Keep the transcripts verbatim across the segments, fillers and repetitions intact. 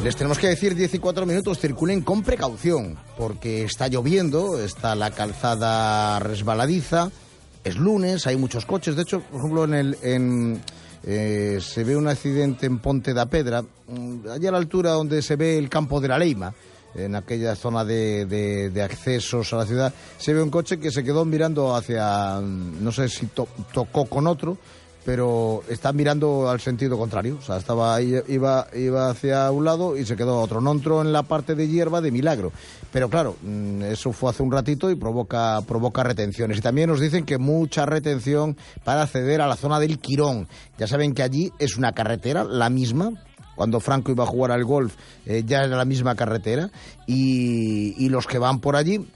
Les tenemos que decir diez y cuatro minutos, circulen con precaución, porque está lloviendo, está la calzada resbaladiza, es lunes, hay muchos coches. De hecho, por ejemplo, en el en, eh, se ve un accidente en Ponte da Pedra, allá a la altura donde se ve el campo de la Leima, en aquella zona de, de, de accesos a la ciudad, se ve un coche que se quedó mirando hacia, no sé si to, tocó con otro, pero está mirando al sentido contrario. O sea, estaba ahí, iba, iba hacia un lado y se quedó a otro. No entró en la parte de hierba de milagro. Pero claro, eso fue hace un ratito y provoca, provoca retenciones. Y también nos dicen que mucha retención para acceder a la zona del Quirón. Ya saben que allí es una carretera, la misma. Cuando Franco iba a jugar al golf, eh, ya era la misma carretera. Y, y los que van por allí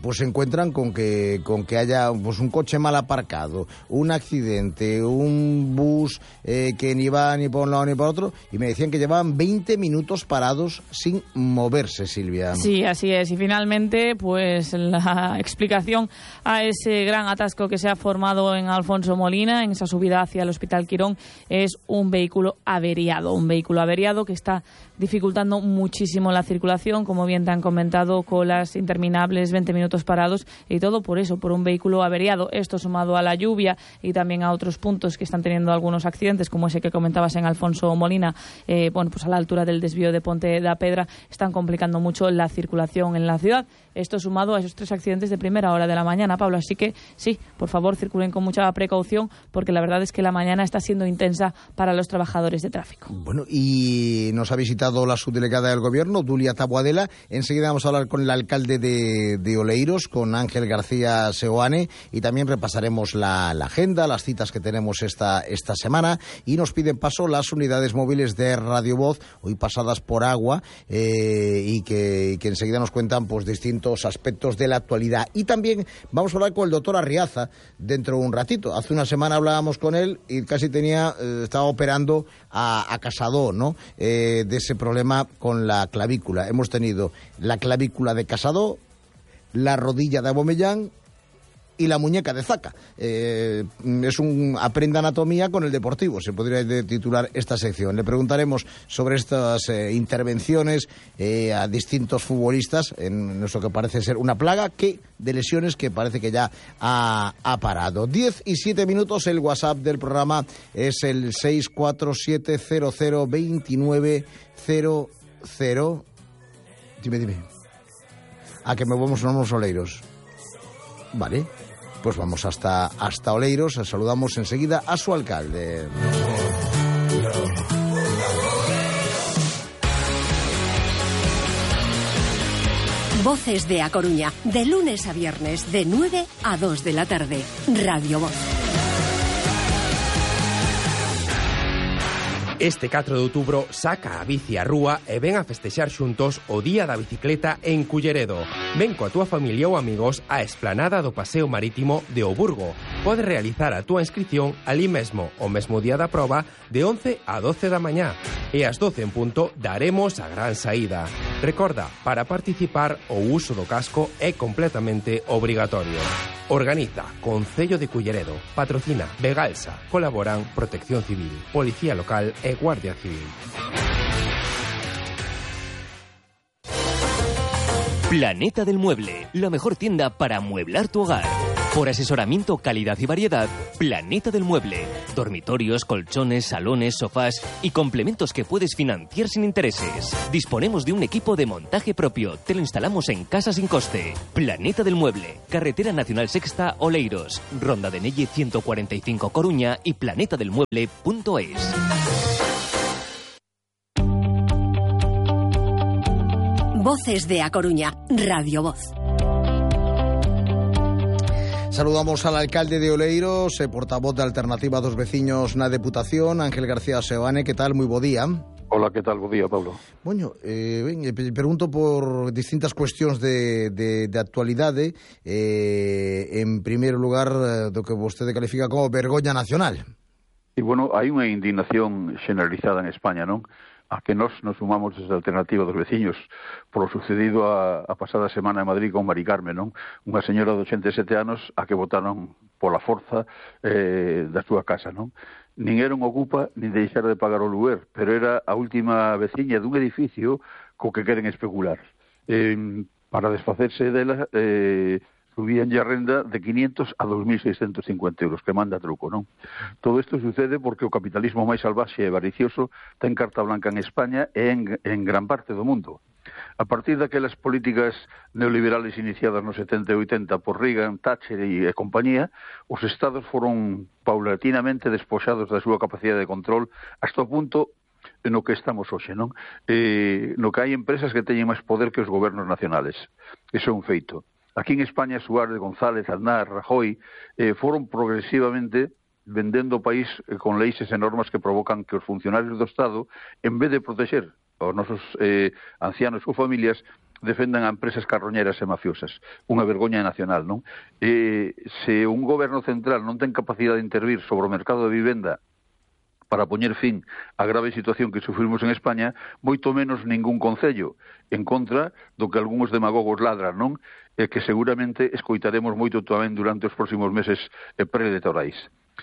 pues se encuentran con que con que haya pues un coche mal aparcado, un accidente, un bus eh, que ni va ni por un lado ni por otro, y me decían que llevaban veinte minutos parados sin moverse, Silvia. Sí, así es. Y finalmente, pues la explicación a ese gran atasco que se ha formado en Alfonso Molina, en esa subida hacia el Hospital Quirón, es un vehículo averiado, un vehículo averiado que está dificultando muchísimo la circulación, como bien te han comentado, colas interminables, veinte minutos parados, y todo por eso, por un vehículo averiado. Esto sumado a la lluvia y también a otros puntos que están teniendo algunos accidentes, como ese que comentabas en Alfonso Molina, eh, bueno, pues a la altura del desvío de Ponte da Pedra, están complicando mucho la circulación en la ciudad. Esto sumado a esos tres accidentes de primera hora de la mañana, Pablo. Así que sí, por favor, circulen con mucha precaución, porque la verdad es que la mañana está siendo intensa para los trabajadores de tráfico. Bueno, y nos ha visitado la subdelegada del Gobierno, Dulia Taboadela. Enseguida vamos a hablar con el alcalde de, de Oleiros, con Ángel García Seoane, y también repasaremos la, la agenda, las citas que tenemos esta, esta semana, y nos piden paso las unidades móviles de Radio Voz, hoy pasadas por agua, eh, y, que, y que enseguida nos cuentan pues distintos aspectos de la actualidad. Y también vamos a hablar con el doctor Arriaza dentro de un ratito. Hace una semana hablábamos con él y casi tenía, eh, estaba operando a, a Casado, ¿no? Eh, de ese problema con la clavícula. Hemos tenido la clavícula de Casado, la rodilla de Abomellán y la muñeca de Zaca. Eh, es un aprenda anatomía con el deportivo, se podría titular esta sección. Le preguntaremos sobre estas eh, intervenciones eh, a distintos futbolistas en eso que parece ser una plaga que de lesiones que parece que ya ha, ha parado. diez y siete minutos, el WhatsApp del programa es el seis cuatro siete cero cero dos nueve cero cero. Dime, dime. A que me vamos a unos Oleiros. Vale, pues vamos hasta, hasta Oleiros. Saludamos enseguida a su alcalde. Voces de A Coruña, de lunes a viernes, de nueve a dos de la tarde. Radio Voz. Este catro de outubro saca a bici á rúa e ven a festexar xuntos o Día da Bicicleta en Culleredo. Ven coa túa familia ou amigos á esplanada do Paseo Marítimo de O Burgo. Podes realizar a túa inscripción ali mesmo, o mesmo día da proba, de once a doce da mañá. E ás doce en punto daremos a gran saída. Recorda, para participar o uso do casco é completamente obrigatorio. Organiza Concello de Culleredo, patrocina Vegalsa, colaboran Protección Civil, Policía Local e Guardia Civil. Planeta del Mueble, la mejor tienda para amueblar tu hogar. Por asesoramiento, calidad y variedad, Planeta del Mueble. Dormitorios, colchones, salones, sofás y complementos que puedes financiar sin intereses. Disponemos de un equipo de montaje propio. Te lo instalamos en casa sin coste. Planeta del Mueble. Carretera Nacional Sexta, Oleiros. Ronda de Nelle ciento cuarenta y cinco, Coruña y planeta del mueble punto es. Voces de A Coruña, Radio Voz. Saludamos al alcalde de Oleiros, eh, portavoz de Alternativa dos Veciños na Deputación, Ángel García Seoane. Que tal? Moi bo día. Hola, que tal? Bo día, Pablo. Bueno, eh, ben, pregunto por distintas cuestións de, de, de actualidade. Eh, en primeiro lugar, do que vostede califica como vergoña nacional. E, bueno, hai unha indignación generalizada en España, non? A que nos nos sumamos desde a Alternativa dos Veciños por o sucedido a, a pasada semana en Madrid con Mari Carmen, non? Unha señora de ochenta e sete anos a que botaron pola forza eh, da súa casa, non? nin era un ocupa, nin deixar de pagar o luguer, pero era a última veciña dun edificio co que queren especular. Eh, para desfacerse dela, eh, subíanlle a renda de quinientos a dos mil seiscentos cincuenta euros, que manda truco, non? Todo isto sucede porque o capitalismo máis salvaxe e avaricioso ten carta blanca en España e en, en gran parte do mundo. A partir daquelas políticas neoliberales iniciadas nos setenta e oitenta por Reagan, Thatcher e, e compañía, os estados foron paulatinamente despoxados da súa capacidade de control hasta o punto no que estamos hoxe, non? Eh, no que hai empresas que teñen máis poder que os gobernos nacionales. Iso é un feito. Aquí en España, Suárez, González, Aznar, Rajoy eh, foron progresivamente vendendo o país eh, con leis e normas que provocan que os funcionarios do Estado, en vez de protexer os nosos eh, ancianos ou familias, defendan a empresas carroñeras e mafiosas. Unha vergoña nacional, non? Eh, se un goberno central non ten capacidade de intervir sobre o mercado de vivenda para poñer fin á grave situación que sufrimos en España, moito menos ningún concello, en contra do que algúns demagogos ladran, non? E que seguramente escoitaremos moito tamén durante os próximos meses eh, preelectorais.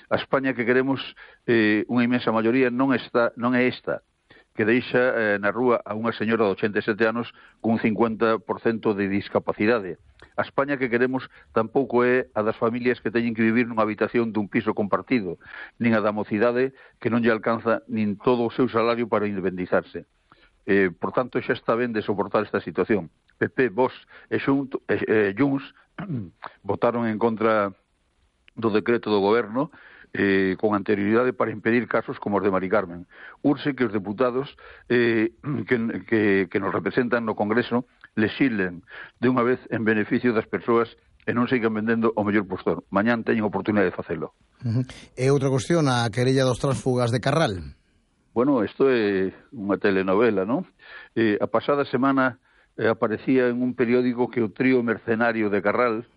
A España que queremos, eh, unha inmensa maioría, non, está, non é esta, que deixa eh, na rúa a unha señora de ochenta e sete anos cun cincuenta por cento de discapacidade. A España que queremos tampouco é a das familias que teñen que vivir nunha habitación dun piso compartido, nin a da mocidade que non lle alcanza nin todo o seu salario para independizarse. Eh, por tanto, xa está ben de soportar esta situación. P P, Vox e Xunto, eh, eh, Junts votaron en contra do decreto do goberno Eh, con anterioridade para impedir casos como os de Mari Carmen. Urxe que os deputados eh, que, que, que nos representan no Congreso lexilen de unha vez en beneficio das persoas e non sigan vendendo o mellor postor. Mañán teñen oportunidade de facelo. Uh -huh. E outra cuestión, a querella dos tránsfugas de Carral. Bueno, isto é unha telenovela, non? Eh, a pasada semana eh, aparecía en un periódico que o trío mercenario de Carral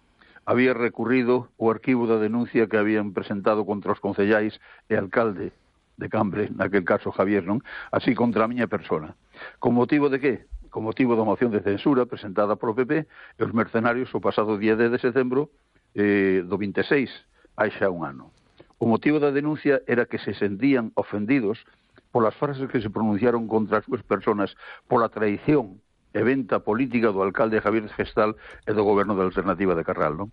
había recurrido o arquivo da denuncia que habían presentado contra os concellais e alcalde de Cambre, naquel caso Javier, non? Así contra a miña persona. Con motivo de que? Con motivo da moción de censura presentada por o P P e os mercenarios o pasado día dez de setembro eh, do vinte e seis, hai xa un ano. O motivo da denuncia era que se sentían ofendidos polas frases que se pronunciaron contra as súas personas pola traición e venta política do alcalde Javier Gestal e do goberno da Alternativa de Carral, non?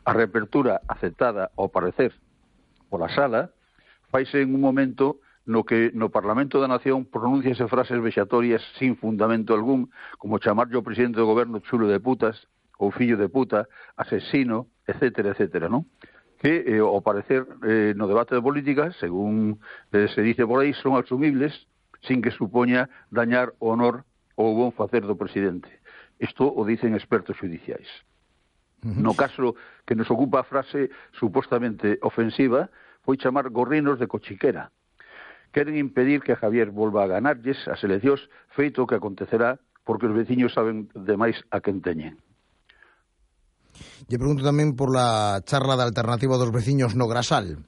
A reapertura aceptada, ao parecer, pola sala, faise en un momento no que no Parlamento da Nación pronunciase frases vexatorias sin fundamento algún, como chamarlle ao presidente do goberno chulo de putas, ou fillo de puta, asesino, etcétera, etcétera, non? Que, eh, ao parecer, eh, no debate de política, según eh, se dice por aí, son asumibles sin que supoña dañar o honor ou bon facer do presidente. Isto o dicen expertos judiciais. No caso que nos ocupa a frase supostamente ofensiva, foi chamar gorrinos de cochiquera. Queren impedir que a Javier volva a ganarlles as eleccións, feito que acontecerá porque os veciños saben demais a quen teñen. Lle pregunto tamén por la charla da alternativa dos veciños no Grasal.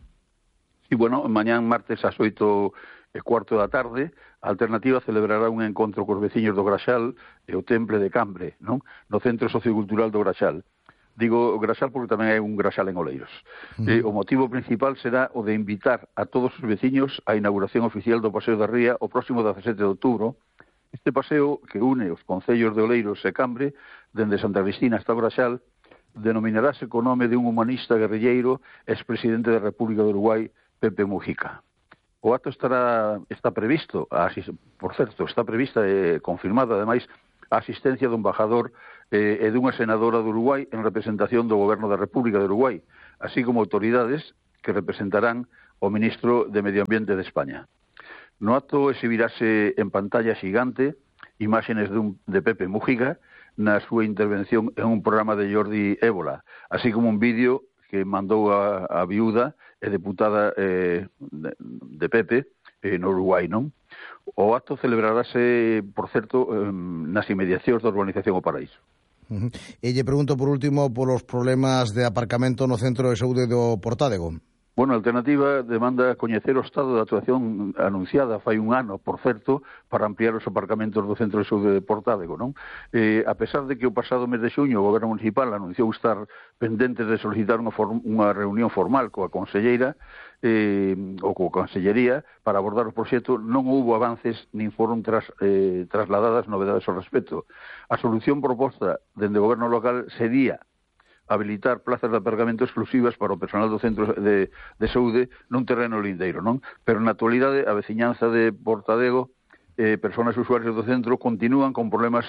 Sí, bueno, mañán martes ás oito e cuarto da tarde, a Alternativa celebrará un encontro cos veciños do Graxal e o Temple de Cambre, non? No Centro Sociocultural do Graxal. Digo Graxal porque tamén hai un Graxal en Oleiros. Uh -huh. eh, o motivo principal será o de invitar a todos os veciños á inauguración oficial do Paseo da Ría o próximo dezasete de outubro. Este paseo que une os concellos de Oleiros e Cambre, dende Santa Cristina hasta o Graxal, denominarase co nome de un humanista guerrilleiro expresidente da República do Uruguai, Pepe Mujica. O acto estará, está previsto, por certo, está prevista e eh, confirmada, ademais, a asistencia do embajador eh, e dunha senadora do Uruguai en representación do Goberno da República do Uruguai, así como autoridades que representarán o ministro de Medio Ambiente de España. No acto exhibirase en pantalla xigante imágenes dun, de Pepe Mujica na súa intervención en un programa de Jordi Ébola, así como un vídeo que mandou a, a viúda e deputada eh, de, de Pepe eh, no Uruguai, non? O acto celebrarase, por certo, eh, nas inmediacións da urbanización O Paraíso. Uh -huh. E lle pregunto por último polos problemas de aparcamento no centro de saúde do Portádego. Bueno, a Alternativa demanda coñecer o estado de actuación anunciada fai un ano, por certo, para ampliar os aparcamentos do Centro de Saúde de Portádego, non? Eh, a pesar de que o pasado mes de xuño o Goberno Municipal anunciou estar pendente de solicitar unha, unha reunión formal coa conselleira, eh, ou coa Consellería para abordar o proxecto, non houbo avances nin foron tras, eh, trasladadas novedades ao respecto. A solución proposta dende o goberno local sería habilitar plazas de aparcamento exclusivas para o personal do centro de, de saúde nun terreno lindeiro, non? Pero na actualidade a veciñanza de Portadego, eh, persoas usuarios do centro, continúan con problemas